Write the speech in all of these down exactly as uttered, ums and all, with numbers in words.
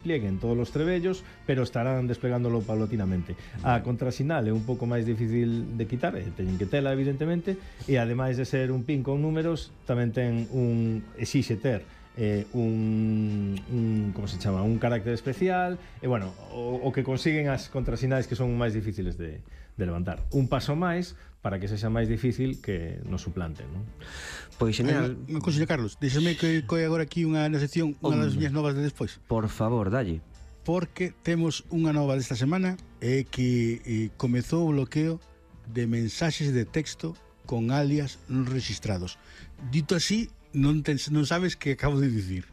plieguen todos os trebellos, pero estarán desplegándolo paulatinamente. A contrasinal é un pouco máis difícil de quitar, e teñen que tela, evidentemente, e ademais de ser un pin con números, tamén ten un exixe ter eh, un, un como se chama, un carácter especial, e bueno, o, o que consiguen as contrasinais que son máis difíciles de, de levantar. Un paso máis para que sexa máis difícil que nos suplanten, non? Pois genial. Unha cousa, Carlos, déxame que coi agora aquí unha na sección, unha das miñas novas de despois. Por favor, dalle. Porque temos unha nova desta semana é que eh, comezou o bloqueo de mensaxes de texto con alias non registrados. Dito así, non, ten, non sabes que acabo de dicir.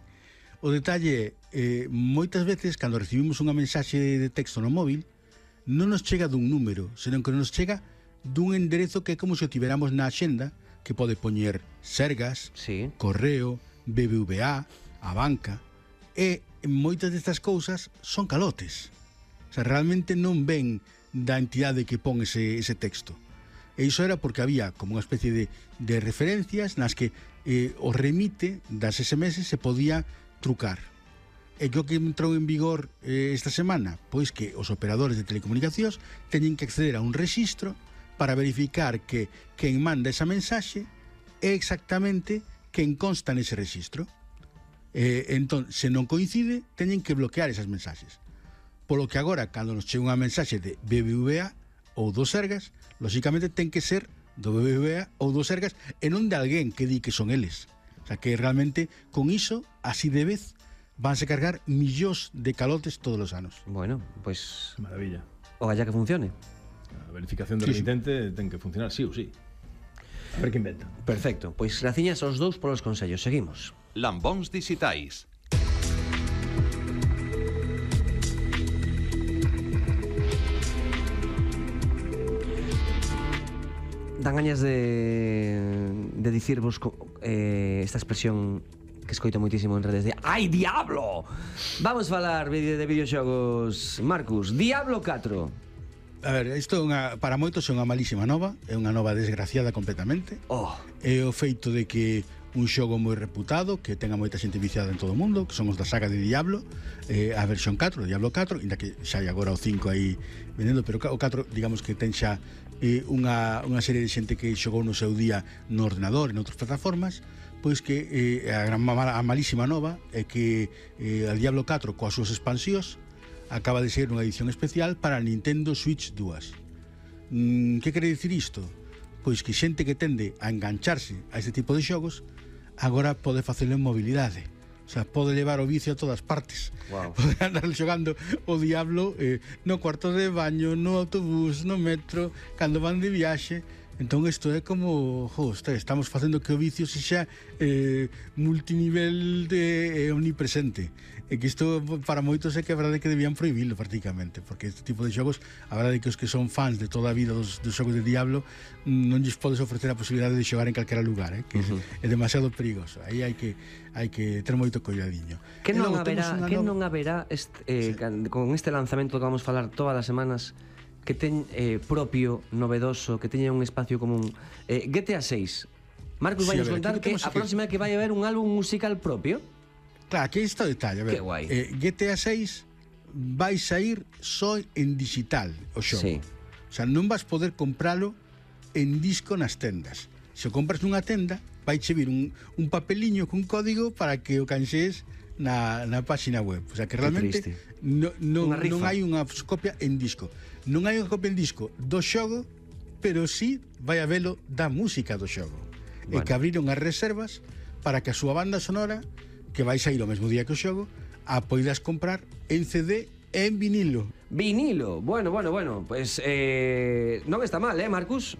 O detalle é, eh, moitas veces, cando recibimos unha mensaxe de texto no móvil, non nos chega dun número, senón que nos chega dun enderezo que é como se o tiveramos na axenda, que pode poñer Sergas, sí. Correo, B B V A, a banca, e moitas destas cousas son calotes. O sea, realmente non ven da entidade que pon ese, ese texto. E iso era porque había como unha especie de, de referencias nas que eh, o remite das S M S se podía trucar. E que o que entrou en vigor eh, esta semana? Pois que os operadores de telecomunicacións teñen que acceder a un rexistro para verificar que quen manda esa mensaxe é exactamente quen consta nese rexistro. Eh, entón, se non coincide, teñen que bloquear esas mensaxes. Polo que agora, cando nos chega unha mensaxe de B B V A ou do Sergas, lóxicamente ten que ser do B B V A ou do Sergas e non de alguén que di que son eles. O sea, que realmente, con iso, así de vez, vanse cargar millóns de calotes todos os anos. Bueno, pois... Pues... Maravilla. O galla que funcione. A verificación do sí, remitente sí. ten que funcionar sí ou sí. A ver que inventa. Perfecto, pois graciñas aos dous polos consellos. Seguimos. Lambóns dixitais. Dan gañas de, de dicirvos eh, esta expresión que escoito moitísimo en redes de "Ai, diablo!". Vamos falar de videoxogos, Marcus. Diablo catro. A ver, isto é unha, para moitos é unha malísima nova, é unha nova desgraciada completamente. Oh. É o feito de que un xogo moi reputado, que tenga moita xente viciada en todo o mundo, que son os da saga de Diablo, eh, a versión catro, o Diablo catro, inda que xa hai agora o cinco aí vendendo, pero o catro, digamos que ten xa eh, unha, unha serie de xente que xogou no seu día no ordenador e en outras plataformas, pois que eh, a, gran, a malísima nova é que eh, a Diablo catro coas súas expansións acaba de ser unha edición especial para Nintendo Switch dúas. Mm, que quere dicir isto? Pois que xente que tende a engancharse a este tipo de xogos agora pode facelo en mobilidade. O sea, pode levar o vicio a todas partes. Wow. Pode andar xogando o Diablo eh, no cuarto de baño, no autobús, no metro, cando van de viaxe. Entón isto é como, jo, estamos facendo que o vicio se xa eh, multinivel de eh, omnipresente. E que isto para moitos é que a verdade é que debían prohibilo prácticamente, porque este tipo de xogos, a verdade é que os que son fans de toda a vida dos, dos xogos de Diablo non lles podes ofrecer a posibilidade de xogar en calquera lugar, eh, que uh-huh. é, é demasiado perigoso. Aí hai que hai que ter moito coidadiño. Que non haberá, que non haberá este, eh, sí. con este lanzamento que vamos falar todas as semanas, que ten eh, propio, novedoso, que teña un espacio común. Eh, G T A seis. Marcus, sí, vai nos contar que a próxima é que vai haber un álbum musical propio. Claro, aquí está o detalle. A ver, que guai. Eh, G T A seis vai sair só en digital o xogo. Sí. O sea, non vas poder compralo en disco nas tendas. Se o compras nunha tenda, vai che vir un, un papeliño cun código para que o canxees na, na página web. O sea, que realmente no, no, non hai unha copia en disco. Non hai unha copia en disco do xogo, pero sí vai habelo da música do xogo. Bueno. E que abriron as reservas para que a súa banda sonora, que vai sair o mesmo día que o xogo, a poidas comprar en C D e en vinilo. Vinilo, bueno, bueno, bueno. Pues eh, non está mal, eh, Marcus?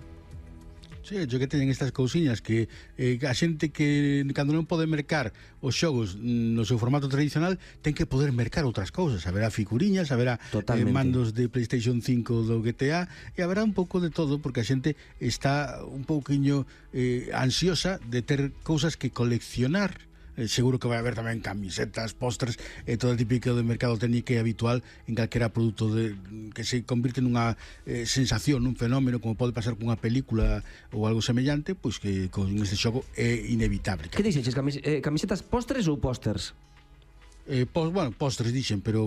Sí, yo que teñen estas cousiñas que eh, a xente que cando non pode mercar os xogos no seu formato tradicional ten que poder mercar outras cousas. Haberá figuriñas, haberá eh, mandos de PlayStation cinco do G T A e haberá un pouco de todo, porque a xente está un pouquiño eh, ansiosa de ter cousas que coleccionar. Eh, seguro que vai haber tamén camisetas, pósters e eh, todo o típico de mercado técnico e habitual en calquera produto de, que se convirte nunha eh, sensación, nun fenómeno, como pode pasar cunha película ou algo semellante, pois que con este xogo é inevitable. Que dixeches, camis eh, camisetas, pósteres ou pósters? Eh, pos, bueno, postres dixen, pero